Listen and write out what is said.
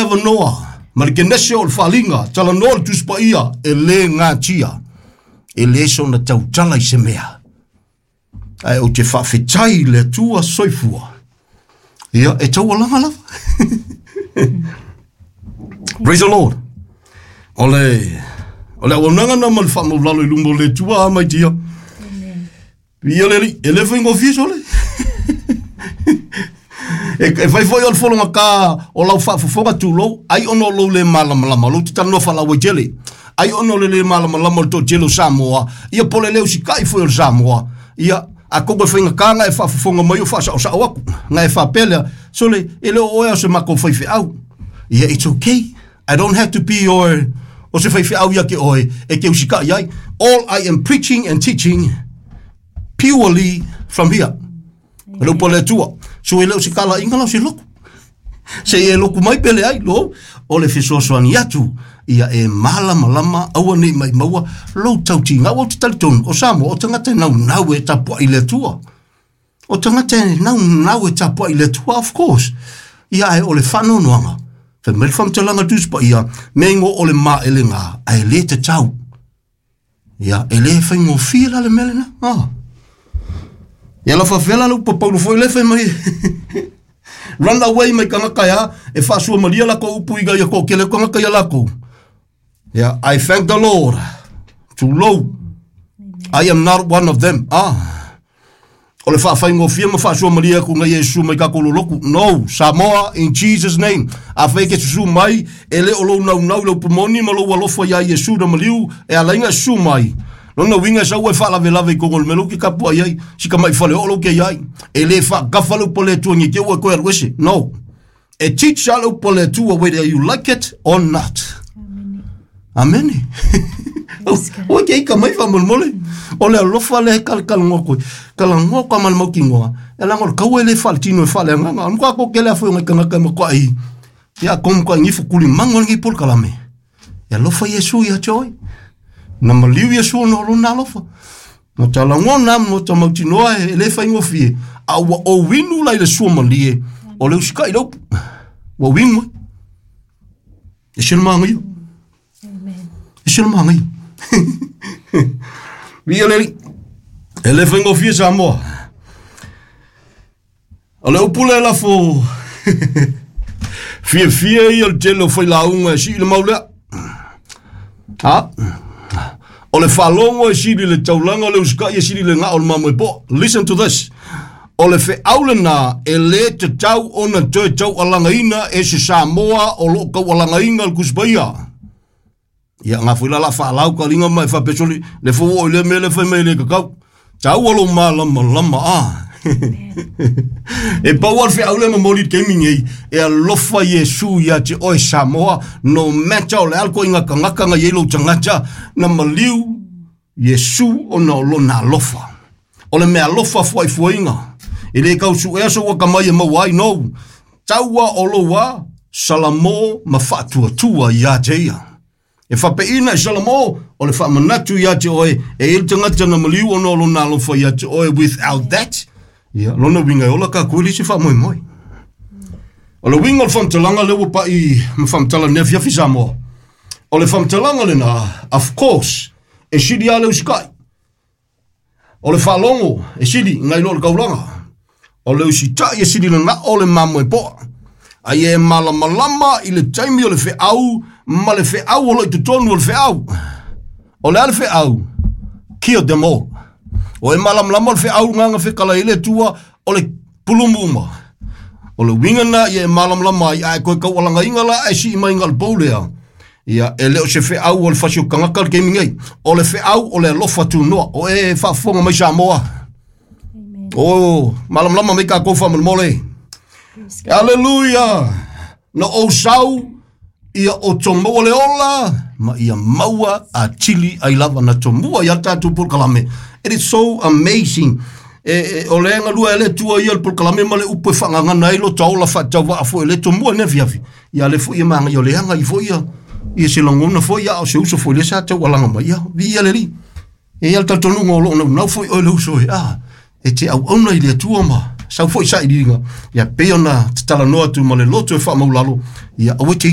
avanoa ma le kenese o le faaliga, talanoa le Tusi Paia, e le gatia, e le sona tautala i se mea. Ae ou te faafetai i le Atua soifua. Ia, e taualaga lava. Praise the Lord. O le auaunaga na ma le faamaulalo i luma o le Atua a mai tia. Ia le alii, e le faigofie sole. E fai foi o le fologa ka o lau faafofoga tulou, ai ona o lou le malamalama, lou te talanoa faalauaitele. Ai ona o le le malamalama o le toatele o Samoa, ia po o le le usitai foi o le Samoa, ia a koko e faigata na e faafofoga mai o faasaosao atu, na e faapea lea, sole, e le o oe o se matou faifeau. Ia, it's okay. I don't have to be your o se faifeau ia te oe e te usitai ai. All I am preaching and teaching purely from here. O le upu a le Atua. So e le o se talaiga la o se loku. Se i e loku mai pe leai, lo, o le fesoasoani atu, ia e malamalama aua nei mai maua lou tautiga. Aua ou te talitonu, o Samoa, o tagata e naunau e tapuai i le Atua. O tagata e naunau e tapuai i le Atua, of course. Ia ae o le faanoanoaga, fai mai le faamatalaga Tusi Paia, mea ingo o le maelega, ae le tatau. Ia, e le faigofie la le mea lena. Ah. Ia la faafefea la le upu a Paulo foi lea fai mai. Run away mai tagata ea e faasuamalia lakou upu ina ia toatele atu tagata ia lakou. Ia, I thank the Lord. Tulou. I am not one of them. Ah. O le faafaigofie ma faasuamalia atu na Iesu mai tatou lolotu. No, Samoa, in Jesus name. Afai e te susu mai, e le o lou naunau i le upu moni ma lou alofa iā Iesu na maliu, e ala ai ona e susu mai. Lona uiga e sau e faalavelave i totonu o le mea lea ou te tapuai ai, si tamai fale oo lea ou te i ai. E le faagafa le upu a le Atua nei te i ua e toe alu ese. No. E teach lava le upu a le Atua whether you like it or not. Amene. Ua te ika mai faamolemole. O le alofa lea e kalakalanoa atu ai. Talanoa atu lava ma le mautinoa, e leaga o le taua e le faaletino e faaleagaga. O le matua toatele lava foi o nai tagata e matuai, ia atonu matuai nifo tulimagu ai lenei polokalame. E alofa Iesu ia te oe. Na maliu Iesu ona o lona alofa. Na talanoa ma ta mautinoa e le faigofie, a ua ou inu la i le suamalie, o le usikai le upu. Ua ou inu ai. E se le manaia. E se le manaia. Viia le Alii. E le faigofie Samoa. O le upu lea e lafo fiafia ia o le tele o failauga e sii le mau lea. Ha? O le faalogo e sili le taulaga o le usikai e sili le gao o le mamoe poa. Listen to this. O le feau lena e le tatau ona toe taualagaina e se Samoa o lo o taualagaina le Tusi Paia. Ia nga foi la la faalau ka linga mai faapea soli le fou oo i lea mea lea fai mai e le tatau. Taua lou malamalama a. E pau lava le feau lea momoli i le taimi nei, e alofa Iesu ia te oe Samoa, no matter o le a le ituaiga tagata na i ai lou tagata, na maliu Iesu ona o lona alofa. O le meaalofa fuaifuaina, e le tau suea sou atamai e maua ai nou, taua o lou a Salamo ma faatuatua ia te ia. E faapeiina i Salamo, o le faamanatu ia te oe, e i ai le tagata na maliu ona o lona alofa ia te oe, without that, ia, lona uiga e ola tatou e leai se faamoemoe. O le uiga o le faamatalaga lea ua pai ma faamatala i lenei afiafi Samoa, o le faamatalaga lena, of course, e sili lava le usitai. O le faalogo e sili nai lo le taulaga. O le usitai e sili le gao o le mamoe poa. Ai e malamalama i le taimi o le feau ma le feau o lo o i totonu o le feau. O le a le feau? Kill them all. O e malamalama o le feau nganga fekala i le Atua o le pulumu uma. O le uiga na ia e malamalama ai ae koe taualagaina la ae sii mai nga le pou lea. Ia, e le o se feau o le fasi o tagata le taimi nei. O le feau o le alofa tunoa. O e faafofoga mai Samoa. O, malamalama mai tatou faamolemole. Aleluia! Na ou sau ia outou maua le ola ma ia maua atili ai lava na tomua ia tatou polokalame. It is so amazing. E, e, o le galue e le Atua ia le polokalame ma le upu e faagagana ai lo ta ola faatauvaa foi le tomua nei afiafi. Ia le foi e magaia o le aga i foi ia ia se lagona foi ia o se uso foi le sa taualaga mai ia viia le Alii. E i ai le talitonuga o lo o naunau foi oe le uso e a e te auauna i le Atua ma sau foi sailiiliga ia pei ona te talanoa atu ma le loto e faamaulalo ia aua e te